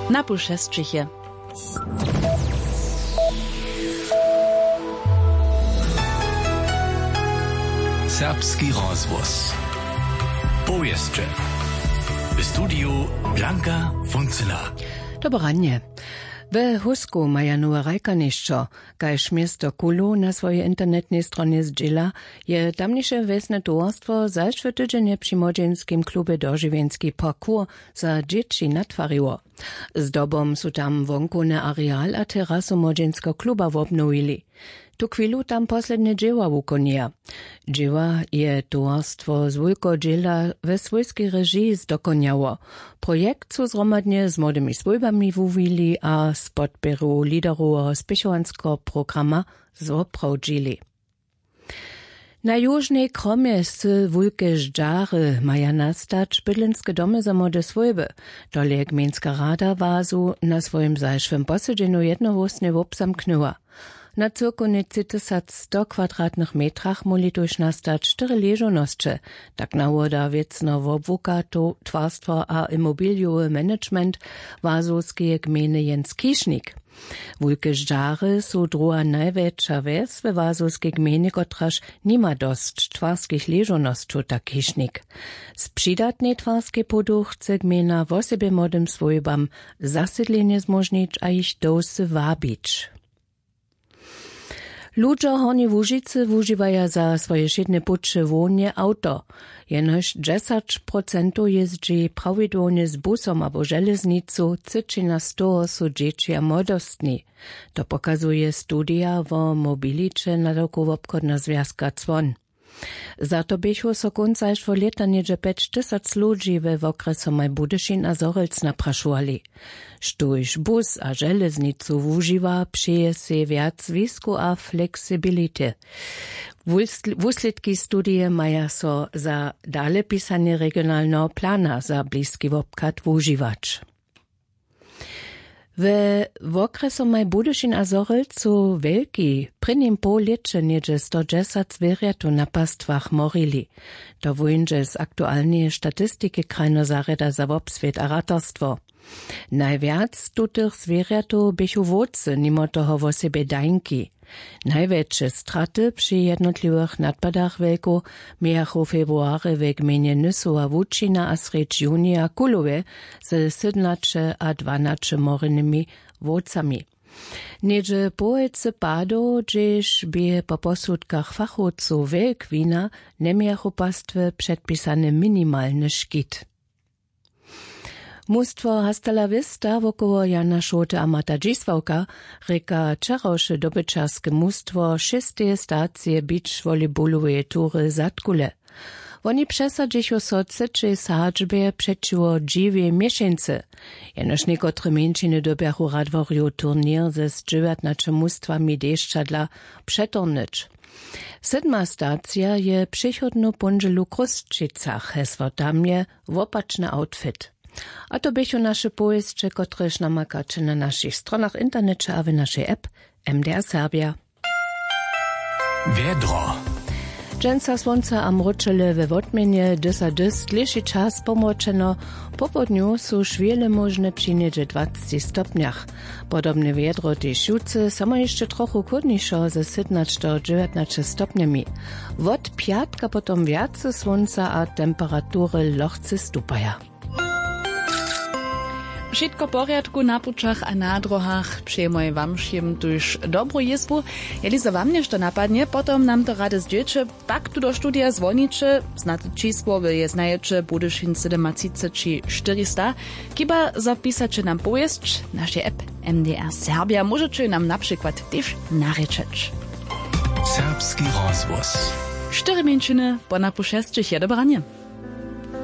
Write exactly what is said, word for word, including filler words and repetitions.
Na pušesćich je. Serbski rozhłos. Powěsće. W studiju Blanka Funzela. Dobre ranje. We Husku maja nowe rajkanišćo, kaž město Kulu na swojej internetnej stronje zdźěla, je tamniše wjesne towarstwo zašły tydźenje při młodźinskim klubje Dožiwjenski parkour za dźěći natwariło. Zdobom su tam wonkowny areal a terasu młodźinskeho kluba wobnowili. Tuchwilu tam poslednje dźěła wukonjeja. Dźěła je towarstwo z wulkeho dźěla we swójskej režiji zdokonjało. Projekt su zhromadnje z młodymi swójbami wuwili a z podpěru lideroweho spěchowanskeho programa zwoprawdźili. Na južnej kromje sy wulke ždźary maja nastać bydlenske domy za młode swójby. Tole je gmejnska rada wazu na swojim zašłym posedźenju jednohłósnje wobzamknyła. Na cyłkownje tři tysac sto kwadratnych metrach móhli tuž nastać štyri ležownosće, tak nawoda wěcno wobłuka to twarstwo a imobilijowy management wazowskeje gmejny Jens Kišnik. Wulke ždźary su druha najwjetša wjes we wazowskej gmejnje, kotraž nima dosć twarskich ležownosćow, tak Kišnik. Z přidatnej twarskej podu chce gmejna wosebje młodym swójbam zasydlenje zmóžnić a jich do wsy wabić. Ludźo w Hornjej Łužicy wužiwaja za swoje wšědne puće hłownje awto. Jenož dźesać procentow jězdźi prawidłownje z busom abo železnicu, třěćina z toho su dźěći a młodostni. To pokazuje studija wo mobiliće nadawkow wobchodneho zwjazka Cwon. Za to běchu so kónc zašłeho lěta něhdźe pjećtysac ludźi we wokrjesomaj Budyšin a Zhorjelc naprašowali. Štóž bus a železnicu wužiwa, přeje sej wjac zwisku a fleksibility. Wusl-, wuslědki studije maja so za dalepisanje regionalneho plana za bliski wobchad wužiwać. We wokrjesomaj Budyšin a Zhorjelcu wjelki w prěnim połlěće něhdźe sto dźesać zwěrjatow na pastwach morili. To wóńdźe z aktualneje statistiki krajneho zarjada za wobswět a ratarstwo. Najwjac tutych zwěrjatow běchu wowcy, nimo toho wosebje dańki. Najwjetše straty při jednotliwych nadpadach wjelkow mějachu w februarje w gmejnje Nysowa Łučina a srjedź junija w Kulowje ze sydomnaće a dwanaće morenymi wowcami. Něhdźe połojcy padow, hdźež bě po posudkach fachowcow wjelk wina, njemějachu pastwy předpisany minimalny škit. Mustwo Hasta la Vista wokoło Jana Šołty a Marta Dźisławka rěka wčerawše dobyćerske mustwo šesteje stacije beach volleyballoweje tury Zadkule. Woni přesadźichu so w třećej sadźbje přećiwo dźiwej měšeńcy. Jenož někotre mjeńšiny dyrbjachu radworjowy turněr ze z dźewjatnaće mustwami dešćadla přeturnyć. Sydma stacija je přichodnu póndźelu w Chrósćicach, hesło tam je wopačny outfit. A to běchu naše powěsće, kotrež namakaće na našich stronach w interneće a w našej app M D R Serbia. Wjedro. Dźensa słonca a mróčele, we wotměnje dys a dys, dlěši čas pomročeno. Popołdnju su šwěle móžne při něhdźe dwacci stopnjach. Podobne wjedro tež jutře, samo hišće trochu chłódnišo ze sydomnaće do dźewjatnaće stopnjemi. Wot pjatka potom wjace słonca a temperatury lochce stupaja. Wšitko w porjadku na pućach a na dróhach? Přejemoj wam wšěm tuž dobru jězbu. Jeli zo wam něšto napadnje, potom nam to rady zdźěće, pak tu do studija zwoniće. Znate čisło, wy je znajeće, Budyšin sydomatřiceći štyrista. Chiba zo pisaće nam powěsć, našej app M D R Serbia, móžeće nam na přikład tež narěčeć. Serbski rozhłos. Štyri mjeńšiny po napu šesćich je dobranje.